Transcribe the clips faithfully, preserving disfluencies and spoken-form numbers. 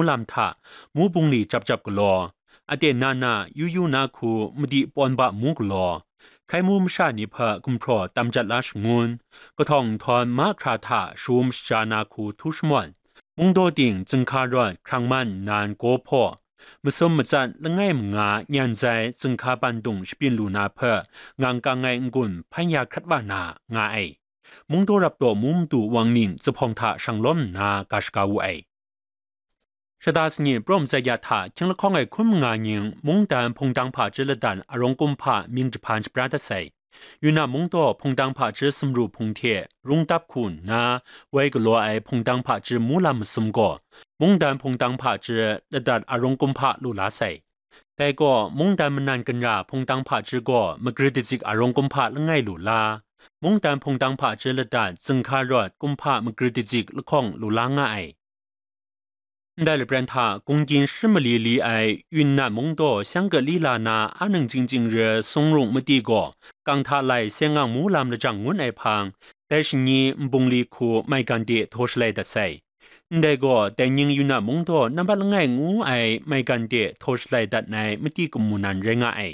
lam hta mu bungli jap jap galaw, aten na na yu yu na hku madi pawn ba mu galaw, hkai mu masha ni hpe gumhpraw tam jat la shangun, kahtawng nhtawm mahkra hta shaum shaja na hku htu shamawt, mungdaw ting zinghka rawt hkrang man nnan gaw hpaw, masum matsat langai manga nyan zai zinghka bandung shabyin lu na hpe ngang kang ai n-gun hpan ya hkrat wa na nga ai. Mungdaw rap taw mu madu wang ning zuphpawng hta shang lawm nna ga shaga wu ai. Shata sanit prawm tsat ya hta hkying lahkawng ai hkun manga nying mungdan hpungdang hpa chye ladan arawng kumhpa mying jahpan shapra dat sai. Yunnan mungdaw hpungdang hpa chye sumru hpung hte rung dap hku nna, woi galaw ai hpungdang hpa chye mu lam masum gaw, mungdan hpungdang hpa chye ladat arawng kumhpa lu la sai. Dai gaw, mungdan manan ginra hpungdang hpa chye gaw magri dazik arawng kumhpa langai lu la, mungdan hpungdang hpa chye ladat zinghka rawt kumhpa magri dazik lahkawng lu la nga ai. Ndai lapran hta gunggying shi mali li ai Yunnan mungdaw Shang Kali la na a nang chying chying re sung rung madi gaw, kang hta lai seng ang mu lam lajang ngun ai hpang, dai shanyi nbungli hku maigan de htaw shalai dat sai. Ndai gaw, dai ning Yunnan mungdaw nambat langai ngu ai maigan de htaw shalai dat ai madi kamu nan rai nga ai.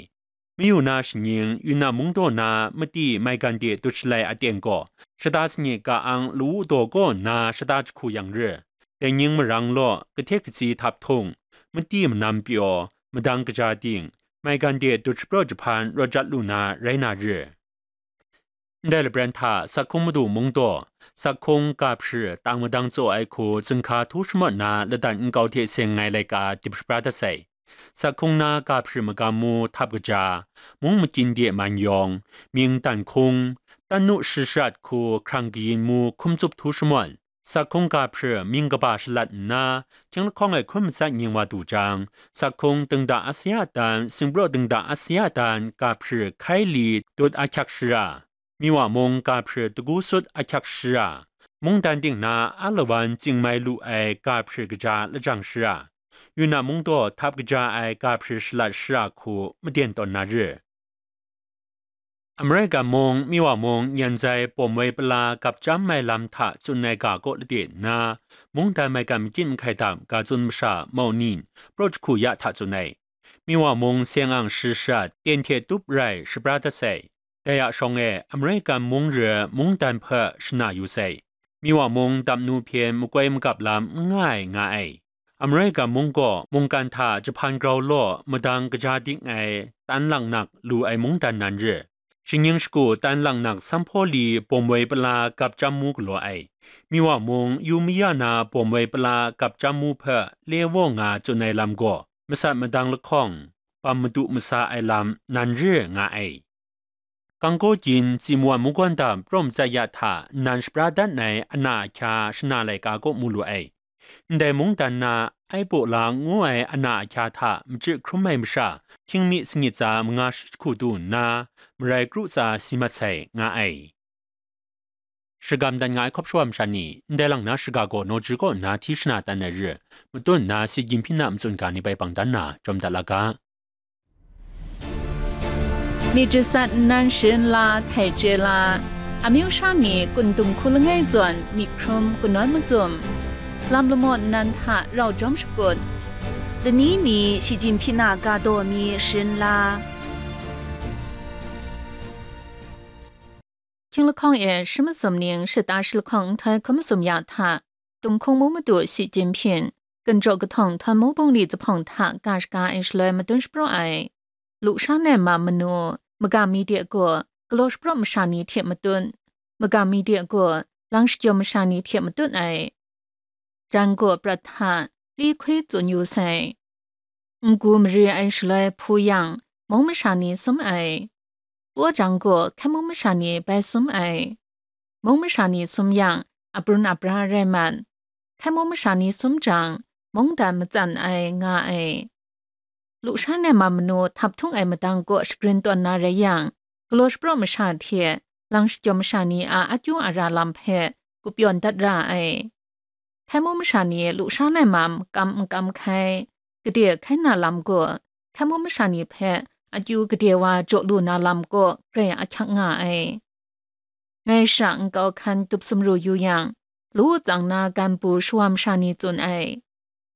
Mayu na shaning, Yunnan mungdaw na madi maigan de dut shalai aten gaw, shata sanit ka ang lawu daw kaw nna shata jahku yang re, dai ning marang law, kahte katsi htap htung, madi manam pyaw, madang kaja ting, maigan de dut shapraw jahpan rawt jat lu na rai na re. Ndai lapran hta Sakhung madu mungdaw, Sakhung ga hpri tang madang tsaw ai hku zinghka htu shamawt na ladan nkau hte seng ai laika dip shapra dat sai. Sakhung na ga hpri magam mu htap kaja, mung makyin de man yawng, mying dan hkung, tanu shi sharat hku hkrang kayin mu hkum tsup htu shamawt, Sakhung ga hpri mying kaba shalat nna, hkying lahkawng ai hkun matsat nying wa du jang, Sakhung dingda asaya dan, singpraw dingda asaya dan ga hpri hkai li dut ahkyak shara, Miwa mung ga hpri dagu sut ahkyak shara, mungdan ting na a lawan chying mai lu ai ga hpri kaja lajang shara, Yunnan mungdaw htap kaja ai ga hpri shalat shara hku maden tawn na re. American mung, Miwa mung, nyan zai pawm woi pala gap chyam mai lam hta tsun ai ga kaw lade nna, mungdan maigan makyit mahkai dam ga tsun masha maunin, praw jahku ya hta tsun ai. Miwa mung seng ang shi sharat, ten hte tup rai shapra dat sai. Dai a shawng e, American mung re mungdan hpe shana yu sai. Miwa mung dap nu hpyen makoi magap lam n nga ai nga ai. American mung gaw mungkan hta jahpan grau law madang kaja ding ai tan langnak lu ai mungdan nan re. Shingning shagu tan langnak sanghpaw li bawm woi pala gap chyam mu galaw ai. Miwa mung yu maya na bawm woi pala gap chyam mu hpe le waw nga tsun ai lam gaw, masat madang lahkawng, bam madu masa ai lam nan re nga ai. Kangkaw gyin, Tsimwan mungkawn dam, prawm tsat ya hta nnan shapra dat ai ana ahkya shana laika kaw mu lu ai. Ndai mungdan na Aibaw la ngu ai ana ahkya hta machyi hkrum ai masha, hkying mi sanit tsa manga shi jahku du nna, marai kru tsa si mat sai, nga ai. Shagam dat nga ai hkawp shawa masha ni, ndai lang na shaga gaw nawji kaw nna hti shana tan ai re, matut nna si gyinhpyin a matsun ga ni bai bang dan na, jawm dat la ga. Myit jasat nnan sharin la, htai chye la, amyu sha ni kun dung hku langai zawn myit hkrum kanawn macum, lam lamaw nnan hta rau jawm shakut, lani mi shi jin hpyi na ga daw mi sharin la. Hkying lahkawng e shi masum ning shata shi lahkawng nhtoi hkun masum ya hta, Tunghkung mu madu shi jin hpyin, Ginjaw kahtawng htawm mu bungli zuphpawng hta ga shaga ai shaloi madun shapraw ai. Lusha nai mam manu, magam mi de gaw, galaw shapraw masha ni hte matut, magam mi de gaw, lang shajawm masha ni hte matut ai. Jan gaw prat hta, li hkwi tsun yu sai. Ngu mari ai shaloi hpu yang, mung masha ni sum ai. Paw jang gaw, hkai mung masha ni bai sum ai. Mung masha ni sum yang, abrun abra rai mat. Hkai mung masha ni sum jang, mungdan matsan ai nga ai. Lusha nai mam manu htap htung ai madang kaw shagrin tawn na rai yang, galaw shapraw masha hte lang shajawm masha ni a akyu ara lam hpe gupyawn dat ra ai. Hkai mung masha ni lusha nai mam kam n kam hkai, gade hkai na lam gaw, hkai mung masha ni hpe akyu gade wa jaw lu na lam kaw grai ahkyak nga ai. Ngai sha nkau hkan tup sumru yu yang, lu tsang na gan bu shawa masha ni tsun ai.